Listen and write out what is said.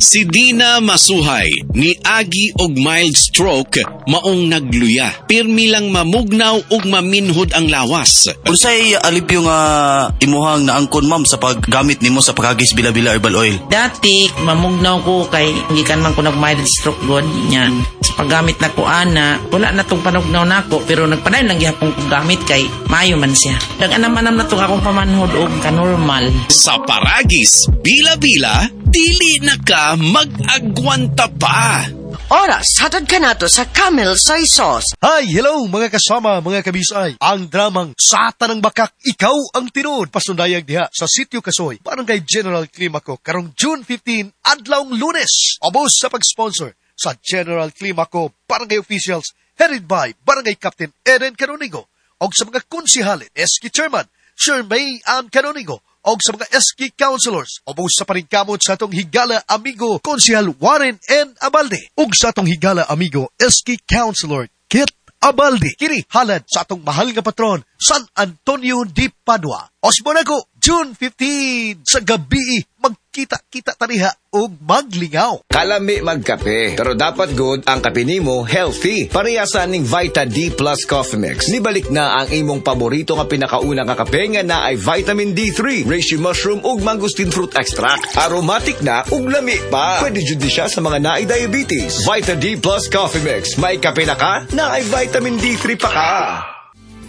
Si Dina Masuhay ni agi og mild stroke maong nagluya. Pirmi lang mamugnaw ug maminhod ang lawas. Unsay alibyo nga imuhang naangkon, ma'am, sa paggamit nimo sa Paragis Bila-Bila Herbal Oil? Dati, mamugnaw ko kay gikan man ko nag mild stroke god nya. Sa paggamit na ko ana, wala na tong panugnaw nako pero nagpadayon lang gihapon ko gamit kay maayo man siya. Nag-anam-anam na tong akong pamanhod og kanormal. Sa Paragis, Bila-Bila, dili na ka mag-agwanta pa. Oras, hatod ka nato sa Camel Soy Sauce. Hi, hello mga kasama, mga kabisay. Ang dramang Sa Tanang Bakak, Ikaw ang Tinuod. Pasundayag diha sa Sitio Kasoy, Barangay General Climaco, karong June 15, adlawng Lunes. Ubos sa pag-sponsor sa General Climaco Barangay Officials, headed by Barangay Captain Eden Canonigo, og sa mga konsihalit, SK Chairman, Sir May Ann Canonigo, og sa mga SK Councilors, ubos sa paningkamot sa atong higala amigo Konsihal Warren N. Abalde, ug sa atong higala amigo SK Councilor Kit Abalde. Kini halad sa atong mahal nga patron, San Antonio de Padua. Osbonago, June 15 sa gabi, magkita-kita taniha ug maglingaw. Kalami magkape, pero dapat good ang kape nimo healthy. Pareha sa ning Vita D Plus Coffee Mix. Nibalik na ang imong paborito nga pinakauna nga kape nga na ay vitamin D3, reishi mushroom ug mangosteen fruit extract. Aromatic na ug lami pa. Pwede jud ni siya sa mga naay diabetes. Vita D Plus Coffee Mix. May kape na ka, na ay vitamin D3 pa ka.